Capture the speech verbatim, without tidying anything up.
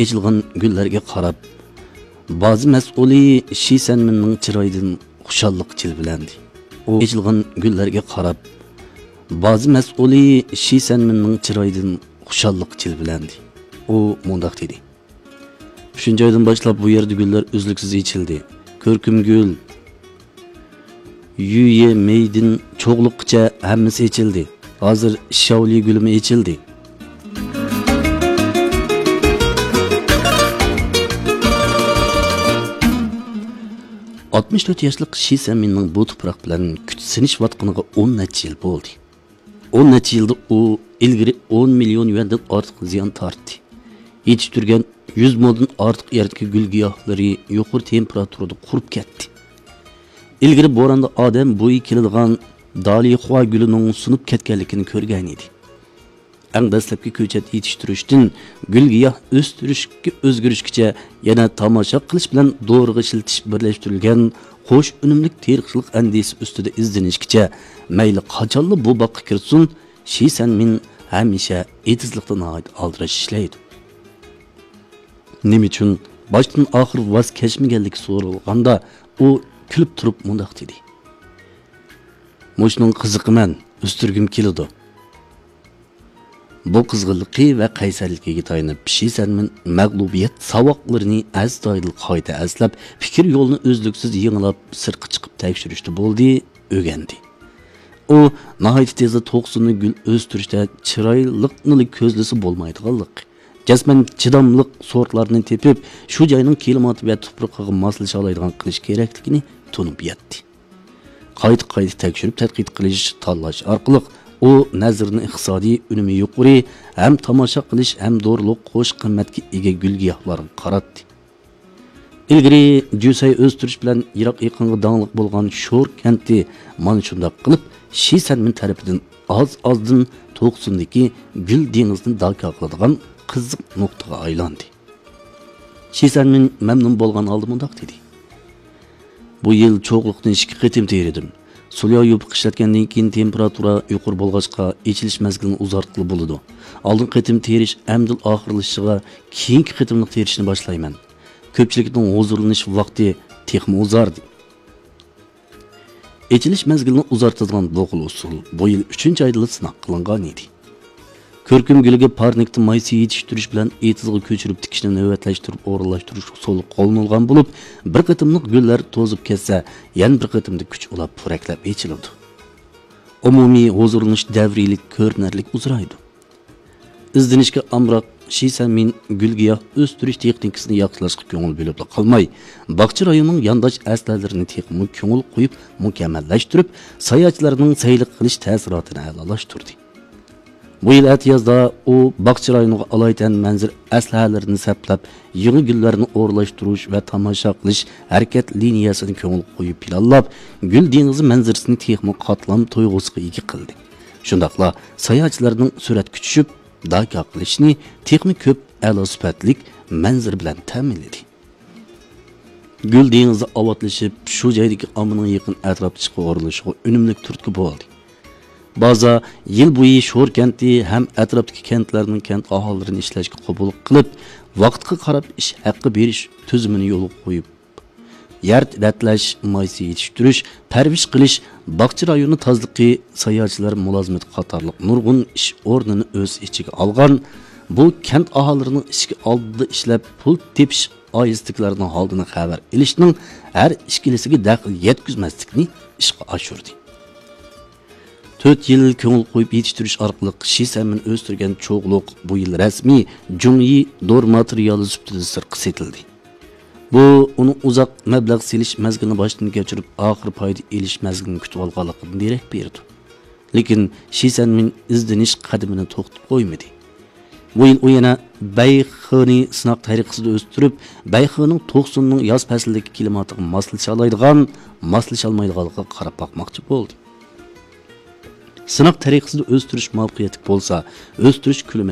ئېچىلغان گۈللەرگە قاراپ، بازا مەسئۇلى شى سەنمىننىڭ چىرايىدىن خۇشاللىق جىلۋىلەندى. ئۇ ئېچىلغان گۈللەرگە قاراپ، بازا مەسئۇلى شى سەنمىننىڭ چىرايىدىن خۇشاللىق جىلۋىلەندى. ئۇ مۇنداق دېدى: «ئۈچىنچى ئايدىن باشلاپ بۇ يەردە گۈللەر ئۈزلۈكسىز ئېچىلدى. كۆركۈم گۈل، يۈيې مېيدىن چوغلۇققىچە ھەممىسى ئېچىلدى. ھازىر شاۋلى گۈلىمۇ ئېچىلدى.» ئاتمىش تۆت ياشلىق شى سەنمىننىڭ بۇ تۇپراق بىلەن كۈچ سىنىشىۋاتقىنىغا ئون نەچچە يىل بولدى. ئون نەچچە يىلدا ئۇ ئىلگىرى ئون مىليون يۈەندىن ئارتۇق زىيان تارتتى. يېتىشتۈرگەن يۈز مودىن ئارتۇق يەردىكى گۈل گىياھلىرى يۇقىرى تېمپېراتۇرىدا قۇرۇپ كەتتى. ئىلگىرى بوراندا ئادەم بويى كېلىدىغان دالىخۇا گۈلىنىڭ سۇنۇپ كەتكەنلىكىنى كۆرگەن ئىدى. ئەڭ دەسلەپكى كۆچەت يېتىشتۈرۈشتىن گۈل گىياھ ئۆستۈرۈشكە ئۆزگىرىشكىچە، يەنە تاماشا قىلىش بىلەن دورىغا ئىشلىتىش بىرلەشتۈرۈلگەن قوش ئۈنۈملۈك تېرىقچىلىق ئەندىزىسى ئۈستىدە ئىزدىنىشكىچە، مەيلى قاچانلا بۇ باغقا كىرسۇن، شى سەنمىن ھەمىشە ئېتىزلىقتا ناھايىتى ئالدىراش ئىشلەيدۇ. نېمە ئۈچۈن باشتىن ئاخىر ۋاز كەچمىگەنلىكى سورالغاندا، ئۇ كۈلۈپ تۇرۇپ مۇنداق دېدى: «مۇشۇنىڭ قىزىقىمەن، ئۆستۈرگۈم كېلىدۇ.» بۇ قىزغىنلىقى ۋە قەيسەرلىكىگە تايىنىپ، شى سەنمىن مەغلۇبىيەت ساۋاقلىرىنى ئەستايىدىل قايتا ئەسلەپ، پىكىر يولىنى ئۈزلۈكسىز يېڭىلاپ، سىرتقا چىقىپ تەكشۈرۈشتە بولدى، ئۆگەندى. ئۇ ناھايىتى تېزلا توقسۇننى گۈل ئۆستۈرۈشتە چىرايلىقنىلا كۆزلىسە بولمايدىغانلىق، جەزمەن چىداملىق سورتلارنى تېپىپ، شۇ جاينىڭ كىلىماتى ۋە تۇپرىقىغا ماسلىشالايدىغان قىلىش كېرەكلىكىنى تونۇپ يەتتى. قايتا-قايتا تەكشۈرۈپ تەتقىق قىلىش، تاللاش ئارقىلىق ئۇ نەزىرىنى ئىقتىسادىي ئۈنۈمى يۇقىرى، ھەم تاماشا قىلىش، ھەم دورىلىق قوش قىممەتكە ئىگە گۈل-گىياھلارغا قاراتتى. ئىلگىرى جۈسەي ئۆستۈرۈش بىلەن يىراق يېقىنغا داڭلىق بولغان شور كەنتى مانا شۇنداق قىلىپ شى سەنمىن تەرىپىدىن ئاز-ئازدىن توقسۇندىكى گۈل دېڭىزىنى داكا قىلىدىغان قىزىق نۇقتىغا ئايلاندى. شى سەنمىن مەمنۇن بولغان ھالدا مۇنداق دېدى: «بۇ يىل چوغلۇقنى ئىككى قېتىم تېرىدىم. سولياۋ يوپۇق ئىشلەتكەندىن كېيىن تېمپېراتۇرا يۇقىرى بولغاچقا، ئېچىلىش مەزگىلىنى ئۇزارتقىلى بولىدۇ. ئالدىنقى قېتىم تېرىش ئەمدىلا ئاخىرلىشىشىغا، كېيىنكى قېتىملىق تېرىشنى باشلايمەن. كۆپچىلىكنىڭ ھۇزۇرلىنىش ۋاقتى تېخىمۇ ئۇزاردى.» ئېچىلىش مەزگىلىنى ئۇزارتىدىغان بۇ خىل ئۇسۇل بۇ يىل ئۈچىنچى ئايدىلا سىناق قىلىنغان ئىدى. كۆركۈم گۈلىگە پارنىكتا مايسا يېتىشتۈرۈش بىلەن ئېتىزغا كۆچۈرۈپ تىكىشنى نۆۋەتلەشتۈرۈپ ئورۇنلاشتۇرۇش ئۇسۇلى قوللىنىلغان بولۇپ، بىر قېتىملىق گۈللەر توزۇپ كەتسە، يەنە بىر قېتىمدا كۈچ ئۇلاپ پورەكلەپ ئېچىلىدۇ. ئومۇمىي ھۇزۇرلىنىش دەۋرىيلىك كۆرۈنەرلىك ئۇزىرايدۇ. ئىزدىنىشكە ئامراق شى سەنمىن گۈل-گىياھ ئۆستۈرۈش تېخنىكىسىنى ياخشىلاشقا كۆڭۈل بۆلۈپلا قالماي، باغچە رايونىنىڭ يانداش ئەسلىھەلىرىنى تېخىمۇ كۆڭۈل قويۇپ مۇكەممەللەشتۈرۈپ، ساياھەتچىلەرنىڭ سەيلە قىلىش تەسىراتىنى ئەلالاشتۇردى. بۇ يىل ئەتىيازدا ئۇ باغچە رايونىغا ئالايىتەن مەنزىرە ئەسلىھەلىرىنى سەپلەپ، يېڭى گۈللەرنى ئورۇنلاشتۇرۇش ۋە تاماشا قىلىش ھەرىكەت لىنىيەسىنى كۆڭۈل قويۇپ پىلانلاپ، گۈل دېڭىزى مەنزىرىسىنى تېخىمۇ قاتلام تۇيغۇسىغا ئىگە قىلدى. شۇنداقلا ساياھەتچىلەرنىڭ سۈرەتكە چۈشۈپ، داكا قىلىشنى تېخىمۇ كۆپ ئەلا سۈپەتلىك مەنزىرە بىلەن تەمىنلىدى. گۈل دېڭىزى ئاۋاتلىشىپ، شۇ جايدىكى ئاممىنىڭ يېقىن ئەتراپتا ئىشقا ئورۇنلىشىشىغا ئۈنۈملۈك تۈرتكە بولدى. بازا يىل بويى شور كەنتى ھەم ئەتراپتىكى كەنتلەرنىڭ كەنت ئاھالىلىرىنى ئىشلەشكە قوبۇل قىلىپ، ۋاقىتقا قاراپ ئىش ھەققى بېرىش تۈزۈمىنى يولغا قويۇپ، يەر رەتلەش، مايسا يېتىشتۈرۈش، پەرۋىش قىلىش، باغچە رايونى تازىلىقى، ساياھەتچىلەر مۇلازىمىتى قاتارلىق نۇرغۇن ئىش ئورنىنى ئۆز ئىچىگە ئالغان بۇ كەنت ئاھالىلىرىنىڭ ئىشىك ئالدىدا ئىشلەپ پۇل تېپىش ئائىلىسىدىكىلەرنىڭ ھالىدىن خەۋەر ئېلىشنىڭ ھەر ئىككىلىسىگە دەخلى يەتكۈزمەسلىكنى ئىشقا ئاشۇردى. تۆت يىل كۆڭۈل قويۇپ يېتىشتۈرۈش ئارقىلىق شى سەنمىن ئۆستۈرگەن چوغلۇق بۇ يىل رەسمىي جۇڭيى دورا ماتېرىيالى سۈپىتىدە سىرتقا سېتىلدى. بۇ ئۇنىڭ ئۇزاق مەبلەغ سېلىش مەزگىلىنى باشتىن كەچۈرۈپ، ئاخىر پايدا ئېلىش مەزگىلىنى كۈتۈۋالغانلىقىدىن دېرەك بېرىدۇ. لېكىن شى سەنمىن ئىزدىنىش قەدىمىنى توختىتىپ قويمىدى. بۇ يىل ئۇ يەنە بەيخېنى سىناق تەرىقىسىدە ئۆستۈرۈپ، بەيخېنىڭ توقسۇننىڭ ياز پەسلىدىكى كىلىماتىغا ماسلىشالايدىغان، ماسلىشالمايدىغانلىقىغا قاراپ باقماقچى بولدى. سىناق تەرىقىسىدە ئۆستۈرۈش مۇۋەپپەقىيەتلىك بولسا، ئۆستۈرۈش كۆلىمى